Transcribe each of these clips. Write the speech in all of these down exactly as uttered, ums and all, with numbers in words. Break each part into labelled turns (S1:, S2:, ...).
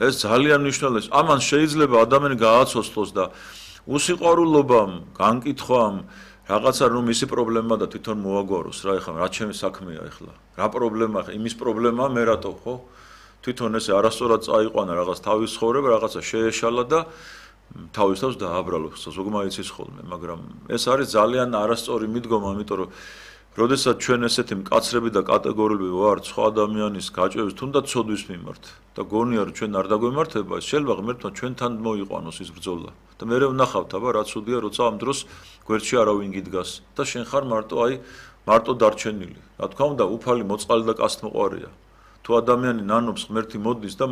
S1: ეს ძალიან მნიშვნელოვანია. ამან შეიძლება ადამიანი გააცოცხლოს და უსიყვარულობამ, განკითხვამ, რაღაცა რომ მისი პრობლემა და თვითონ მოაგვაროს რა ეხლა რა ჩემი საქმეა ეხლა. რა პრობლემაა ხა იმის პრობლემაა მე რატო ხო? თვითონ ესე არასწორად წაიყვანა რაღაც თავის ცხოვრება, რაღაცა შეეშალა და თავის თავს დააბრალოს, ზოგმა იცის ხოლმე, მაგრამ ეს არის ძალიან არასწორი მიდგომა, ამიტომ რომ როდესაც ჩვენ ესეთი მკაცრები და კატეგორიულები ვართ სხვა ადამიანის გაჭირვების თუნდაც ცოდვის მიმართ და გონია რომ ჩვენ არ დაგვემართება, შეიძლება ღმერთმა ჩვენთან მოიყვანოს ის ბრძოლა. და მე ვნახავთ, აბა რა ცუდია, როცა ამ დროს გვერდში არავინ გიდგას და შენ ხარ მარტო აი მარტო დარჩენილი. რა თქმა უნდა, უფალი მოწყალი და კაცთმოყვარია. თუ ადამიანი ნანობს ღმერთი მოდის და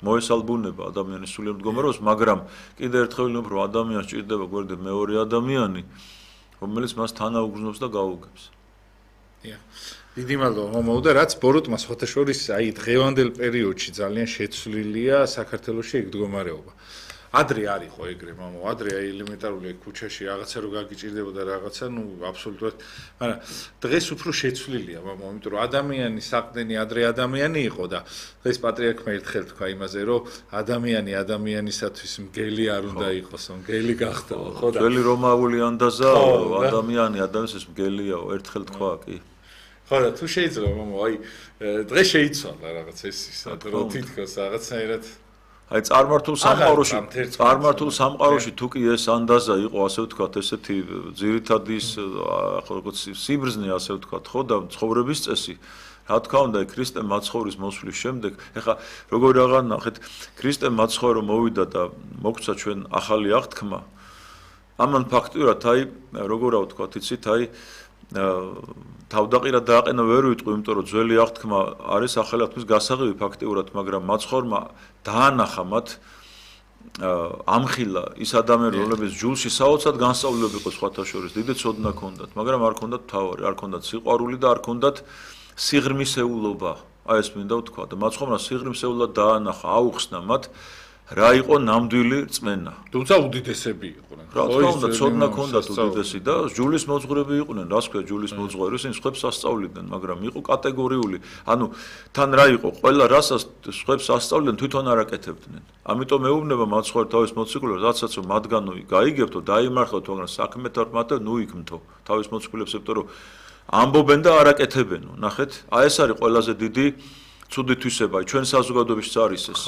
S1: მოესალბუნება ადამიანის სულიერ მდგომარეობას, მაგრამ კიდევ ერთხელ ვიმბობ, რომ ადამიანს ჭირდება გვერდზე მეორე ადამიანი, რომელიც მას თანაუგრძნობს და გაუგებს.
S2: დიახ. დიდი მადლობა მომავალ და რაც ბოროტმა სხვათა შორის აი დღევანდელ პერიოდში ძალიან შეცვლილია საქართველოში ეგ მდგომარეობა. ადრე არ იყო ეგრე მამო, ადრე აი ელემენტარული ქუჩაში რაღაცა რო გაგიჭირდებოდა რაღაცა, ნუ აბსოლუტურად, მაგრამ დღეს უფრო შეცვლილია მამო, იმიტომ რომ ადამიანი საყდენი ადრე ადამიანი იყო და დღეს პატრიარქმა ერთხელ თქვა იმაზე, რომ ადამიანი ადამიანისათვის მგელი არ უნდა იყოს, მგელი გახდა, ხო და
S1: ძველი რომაული ანდაზა ადამიანი ადამიანის მგელიაო, ერთხელ თქვა კი.
S2: ხო და თუ შეიძლება მამო, აი დღეს შეიცვალა რაღაც ეს ის, რომ თითქოს რაღაცნაირად
S1: აი წარმართულ სამყაროში, წარმართულ სამყაროში თუ კი ეს ანდაზა იყო, ასე ვთქვათ, ესეთი ძირითადი ის როგორც სიბრძნე, ასე ვთქვათ, ხო და ცხოვრების წესი. რა თქმა უნდა, ქრისტე მაცხოვრის მოსვლის შემდეგ, ეხლა როგორ რაღაც ნახეთ, ქრისტე მაცხოვრო მოვიდა და მოგვცა ჩვენ ახალი აღთქმა. ამან ფაქტურად აი როგორ რა ვთქვათ, იცით, აი თავდაყირა დააყენა ვერ ვიტყვი, იმიტომ რომ ძველი აღთქმა არის ახალი აღთქმის გასაღები ფაქტიურად, მაგრამ მაცხოვრმა დაანახა მათ ამხილა ის ადამიანი, რომლებიც ჯულში საოცრად განსწავლილები იყო სხვათა შორის, დიდი ცოდნა ჰქონდათ, მაგრამ არ ჰქონდათ მთავარი, არ ჰქონდათ სიყვარული და არ ჰქონდათ სიღრმისეულობა. აი ეს მინდა ვთქვა და მაცხოვრმა სიღრმისეულად დაანახა, აუხსნა მათ რა იყო ნამდვილი რწმენა.
S2: თუმცა უდიდესები იყვნენ.
S1: რა თქმა უნდა, ცოდნა ჰქონდათ უდიდესი და ჯულის მოძღვრები იყვნენ, რას ქვია ჯულის მოძღვარი, ისინი სხვებს ასწავლიდნენ, მაგრამ იყო კატეგორიული. ანუ თან რა იყო, ყველა რასაც სხვებს ასწავლიდნენ, თვითონ არ აკეთებდნენ. ამიტომ მეუბნება მაცხოვარ თავის მოციქულებს, რაცაც რომ მათგანო გაიგებთო, დაიმართოთ, მაგრამ საქმეთ არ მათე, ნუ იქმთო თავის მოციქულებს, იმიტომ რომ ამბობენ და არ აკეთებენო. ნახეთ, აი ეს არის ყველაზე დიდი ცუდი თვისება, ჩვენ საზოგადოებაშიც არის ეს.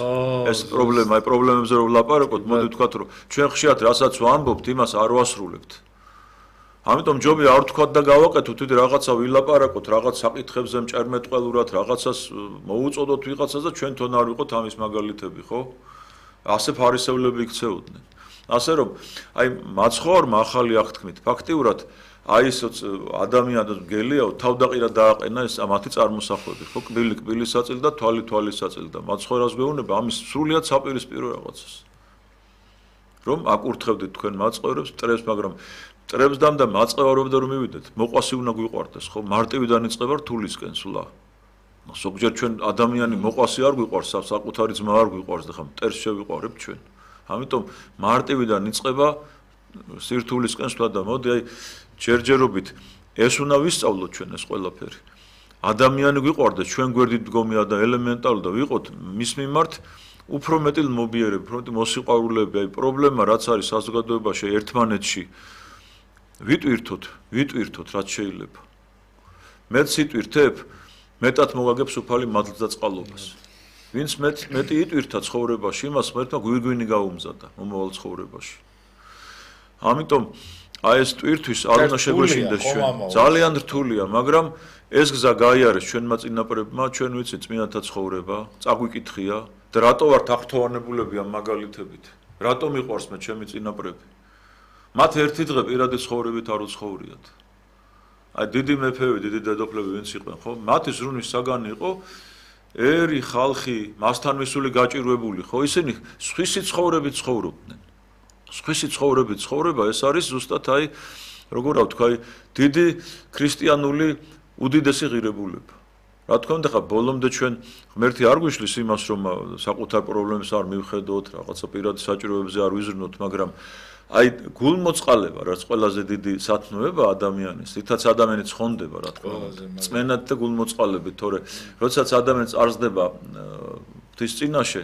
S1: ეს პრობლემა, აი პრობლემებზე რომ ვლაპარაკოთ, მოდი ვთქვათ, რომ ჩვენ ხშირად რასაც ვამბობთ, იმას არ ვასრულებთ. ამიტომ ჯობია არ ვთქვათ და გავაკეთოთ, თვითონ რაღაცა ვილაპარაკოთ, რაღაც საკითხებზე მჭერმეტყველურად, რაღაცას მოუწოდოთ ვიღაცას და ჩვენ თვითონ არ ვიყოთ ამის მაგალითები, ხო? ასე ფარისევლები იქცეოდნენ. ასე რომ, აი მაცხოვარმა ახალი აღთქმით, ფაქტიურად აი ეს ადამიანს მგელიაო თავდაყირა დააყენა ეს მათი წარმოსახვები, ხო, კბილი კბილის საწილი და თვალი თვალის საწილი და მაცხოვრას გვეუბნება ამის სრულიად საპირისპირო რაღაცას. რომ აკურთხებდით თქვენ მაცხოვრებს მტრებს, მაგრამ მტრებს და მაწევარობდა რომ მივიდეთ, მოყვასი უნდა გვიყვარდეს, ხო, მარტივიდან იწყება რთულისკენ სულა. ზოგჯერ ჩვენ ადამიანი მოყვასი არ გვიყვარს, საკუთარი ძმა არ გვიყვარს და ხა მტერს შევიყვარებთ ჩვენ. ამიტომ მარტივიდან იწყება სირთულისკენ სულა და მოდი აი ჯერჯერობით ეს უნდა ვისწავლოთ ჩვენ ეს ყველაფერი. ადამიანი გვიყვარდეს, ჩვენ გვერდით მდგომია და ელემენტარული და ვიყოთ მის მიმართ უფრო მეტი მობიერები, უფრო მეტი მოსიყვარულეები, აი პრობლემა რაც არის საზოგადოებაში ერთმანეთში ვიტვირთოთ, ვიტვირთოთ რაც შეიძლება. მეც იტვირთებ, მეტად მოგაგებს უფალი მადლს და წყალობას. ვინც მეტ მეტი იტვირთა ცხოვრებაში, იმას ღმერთმა გვირგვინი გაუმზადა მომავალ ცხოვრებაში. ამიტომ აი ეს ტვირთვის არ უნდა შეგვეშინდეს ჩვენ. ძალიან რთულია, მაგრამ ეს გზა გაიარეს ჩვენმა წინაპრებმა, ჩვენ ვიცით წმინდანთა ცხოვრება, წაგვიკითხია და რატო ვართ აღთოვანებულები ამ მაგალითებით? რატო მიყვარს მე ჩემი წინაპრები? მათ ერთი დღე პირადი ცხოვრებით არ უცხოვრიათ. აი დიდი მეფეები, დიდი დედოფლები ვინც იყვნენ, ხო? მათი ზრუნვის საგანი იყო ერი ხალხი, მასთან მისული გაჭირვებული, ხო? ისინი სხვისი ცხოვრებით ცხოვრობდნენ. სხვისი ცხოვრებით ცხოვრება ეს არის ზუსტად აი როგორ ვთქვა, აი დიდი ქრისტიანული უდიდესი ღირებულება. რა თქმა უნდა, ხა ბოლომდე ჩვენ ღმერთი არ გვიშლის იმას, რომ საკუთარ პრობლემებს არ მივხედოთ, რაღაცა პირადი საჭიროებზე არ ვიზრნოთ, მაგრამ აი გულმოწყალება, რაც ყველაზე დიდი სათნოება ადამიანის, რითაც ადამიანი ცხონდება, რა თქმა უნდა, წმენად და გულმოწყალებით, თორე როდესაც ადამიანი წარსდება ღვთის წინაშე,